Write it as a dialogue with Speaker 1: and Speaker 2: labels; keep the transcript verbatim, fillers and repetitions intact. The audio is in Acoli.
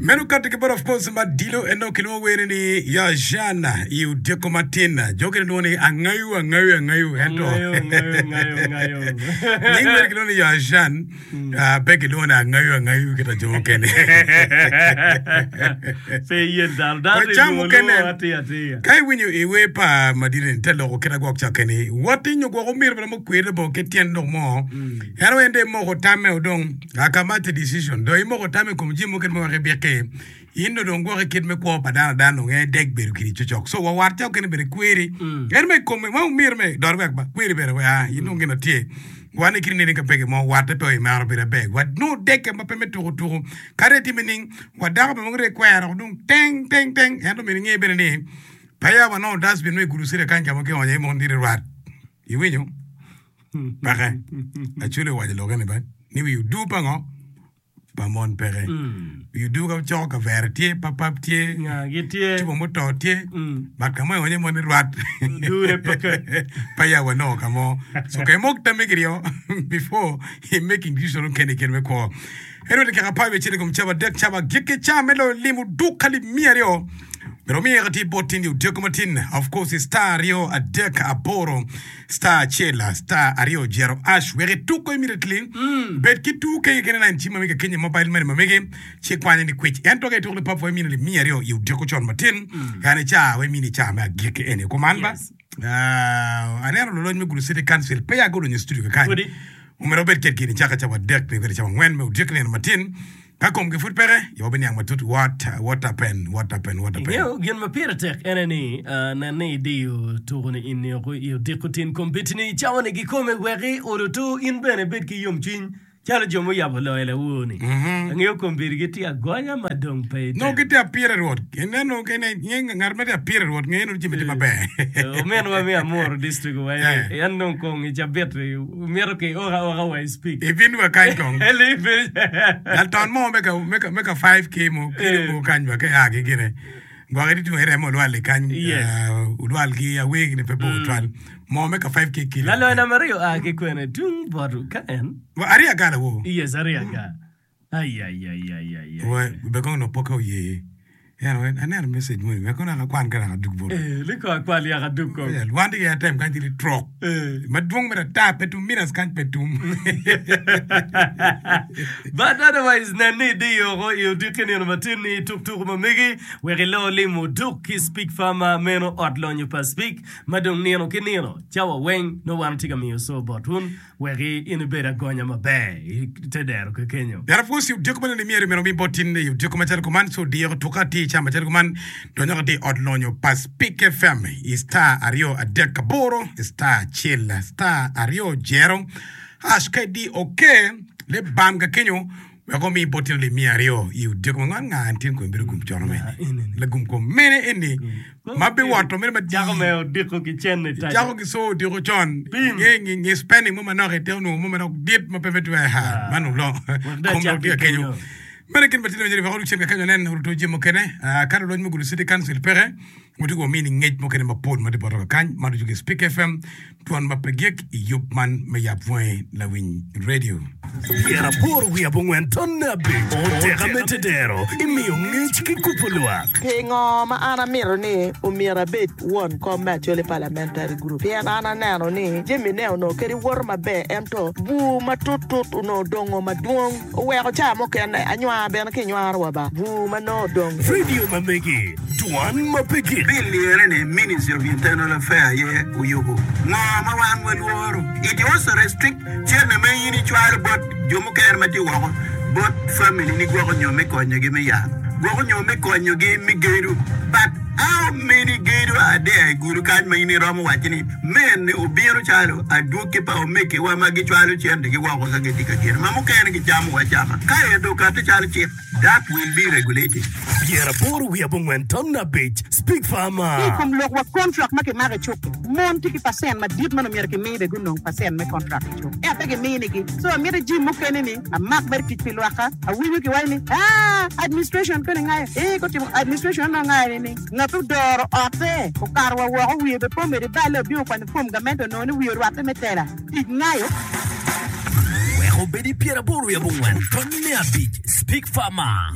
Speaker 1: Meno kati ki bot of course Madilo en dong kilwongo wene ni ya Jean i odiko matin. Jo kene lwongo ni angayu angayu angayu ento
Speaker 2: Angayo, angayo, angayo, angayo.
Speaker 1: Nying mere kilwongo ni ya Jean ah, pe kilwongo ni angayu angayu kita jo mukene.
Speaker 2: Pe iyel dano, dano
Speaker 1: Wa
Speaker 2: te
Speaker 1: cam
Speaker 2: lwongo
Speaker 1: mukene
Speaker 2: lwongo atir atir.
Speaker 1: ka iwinyo i wer pa Madilo ni te loko kit agwok cakke ni woti nyo gwoko omiro bene mukwir labongo kit tyen lok mo en en dong imoko tamme odong Akamati decision dong imoko tam i kom jami mukene ma wek ibiki in dong dong gwoki kit me kwo pa dano adana dong en dek bedo kidi cocok so wa wat ca okene bene kweri en me kome ma omyero me dot wek ba kweri bene wek a in dong gin atye wan i kine nini ka peke mo watte pe imaro bedo aber wa nongo dekke ma pe me tuku tuku kadi atime ning wa dako bene mogo dong ikwero dong teng teng teng ento myero inge bene ni peya wanongo dustbin mo i gudo city kany ka ma kionyo iye mogo niti rwat iwinyo Peke. Acholi owaco lokke ni ba ni wi odur pa ngo? Pa mon peke. Wi odur ka coko kavere tye, papap tye,
Speaker 2: Nga gitye.
Speaker 1: cupa muto tye, but ka mo ionyo mon ni rwat.
Speaker 2: Odure peke.
Speaker 1: Pa ya wanongo ka mo. So ka imok tammi kiryo before i making decision mukene i kit me kwo. Anyway, dakika apar wiye acel i kom cawa adek cawa agikki ca me loyo limo duk alip miya aryo. Myero omiye ka tye bot tindi odiko matin. Of course, star aryo adek aboro star acel star aryo jero ash wek ituk ko immediately. Bed ki two K kene line cim ma mege kenyo mobile money ma mege ci kwanye ni kwic. Ento ka ituko lipap wa imini alip miya aryo i odiko con matin. Yani ca wa imini ca me agikki eni. Kuman ba?
Speaker 2: Yes.
Speaker 1: Ah, aneno lulony me Gulu City Council peya gudonyo i studio kakany.
Speaker 2: Pudi.
Speaker 1: Omyero wabed kwedgi nicaka cawa adek nio kwede cawa angwen me odyek nino matin. Ka komgi pud peke, ci wabiniang matut what, what happen, what happen, what happen.
Speaker 2: Ingeyo gin ma pire tek ene ni, nen ni idiyo tuko-ni in nio i odiko tin kombeddi-ni i cawa-ni kikome wek i odoto in bene ibed ki yomcwiny calo jo muyabo loyo lawor-ni. Angeyo kombeddi gitye agonya ma dong pe
Speaker 1: Nongo
Speaker 2: itemo.
Speaker 1: gitye apire Rwot. Ineno kene, inge ngat ma tye apire Rwot ngeyo nongo jami tye maber.
Speaker 2: Ominwa me Amuru district owaco ni
Speaker 1: Eh.
Speaker 2: en dong kong i cabit-ti mito ki oka oka wa i speak.
Speaker 1: Ibin wa kany kong.
Speaker 2: Eli
Speaker 1: Lalton mo me ka, me ka, me ka five K mo kelo mo kany wa ke a ki gine. Gwok iti tungo iremo olwal i kany.
Speaker 2: Yes.
Speaker 1: Uh, olwal ki awegi ni pe bor twal. Mo me ka five K kilo.
Speaker 2: Laloyo namba aryo a ki kwene tung bot ka en.
Speaker 1: Wa aryo agala wo.
Speaker 2: Yes, aryo aga. Ai ai ai ai ai ai.
Speaker 1: Wa be kong no poke oye. Eno aneno message moni wek kono akwan ka dok adug boti.
Speaker 2: Eh, liko akwal yaka adug kong.
Speaker 1: Eh, wan tye ki atem kany tye trok.
Speaker 2: Eh.
Speaker 1: Madwong mere ata pe tum minutes kany pe tum.
Speaker 2: But otherwise nen ni idiyo oko i odiki nino matin ni ituk tuku ma megi wek ilo limo duk ki Speak Farmer meno ot lonyo pa Speak ma dong nino ki nino cawa weng nongo wan watye ka miyo co bot wun Wek in ibed agonya maber i te dero kekenyo.
Speaker 1: Yat apwoc i odiko ma nene myero myero omi bot tin i odiko macalo kuman ci odiro tuka atir i cam macalo kuman donyo atir i ot lonyo pa Spik FM i star aryo adek aboro star acel star aryo jero hash ka idi ok le bam kakenyo wek omi bot tin alip miya aryo i odiko ma nga nga tin kome bedo gum cono mene lagum kom mene eni ma biwoto mene madii
Speaker 2: Cako me odiko ki cen i taco.
Speaker 1: Cako ki co odiko con
Speaker 2: Pim.
Speaker 1: nge nge nge spending mo manok ite onongo mo manok dit ma pe me twer ha man olong
Speaker 2: Wek dong
Speaker 1: kom
Speaker 2: acak
Speaker 1: dok tye
Speaker 2: ki
Speaker 1: ka kenyo
Speaker 2: kenyo.
Speaker 1: Meno gin ma tye wek odok cen ka kenyo nen oruto jami mukene Ah, ka lulony me Gulu City Council peke watye ka wamini ngec mukene mapol ma tye botwa kakany ma ducu ki Spik FM Twon ma pe gik i yub man me Yab Wangi Lawiny Radio.
Speaker 3: Pyeraboro wiye abongwen tonne abic oteka me tedero imiyo ngec ki kubo lwak.
Speaker 4: Pingo ma an amito ni omyero abed won kom me Acholi Parliamentary Group? Pien an aneno ni jami ne onongo kadi woto maber ento bur matut tut onongo odongo madwong oweko ca mukene anywar bene ki nywaro wa ba bur ma nongo odong.
Speaker 3: Radio ma megi Dwan ma pe gik.
Speaker 5: Bill lirre ni Ministry of Internal Affair aye oyubo. Ngo ma wan walworo? It also restrict cente ma in icwalo bot jo mukene ma tye woko bot family ni gwoko nyo me konyogi me yat, gwoko nyo me konyogi me gedo. But how many gedo are there i gudo kany ma in iromo waco ni mene obino calo adwogi pa omegiwa ma gicwalo centegi woko ka gitye ka gedo ma mukene gicamo acama ka ento okati calo cik? That will be regulated.
Speaker 3: Pyeraboro wiye abongwen ton abic Speak
Speaker 6: Ki i
Speaker 3: Farmer.
Speaker 6: kom lok wa kontrak ma kimako i cuk-ki, mon tye ki pacent madit ma nongo myero kimi bene gunong pacent me kontrak i cuk ento pe giminigi. So amito jim mukene ni amak mere tic pi lwakka. Awinyo kiwaco ni aa administration koni ngayo ee gutimo administration onongo ngayo ni ngat odoro otte okato wa woko wiye bene pe omedo iballe obino okwanyo form gamente onongo ni wiye orwatte me tela tic ngayo.
Speaker 3: Wek obed i pyeraboro wiye abongwen tonne abic Speak Farmer.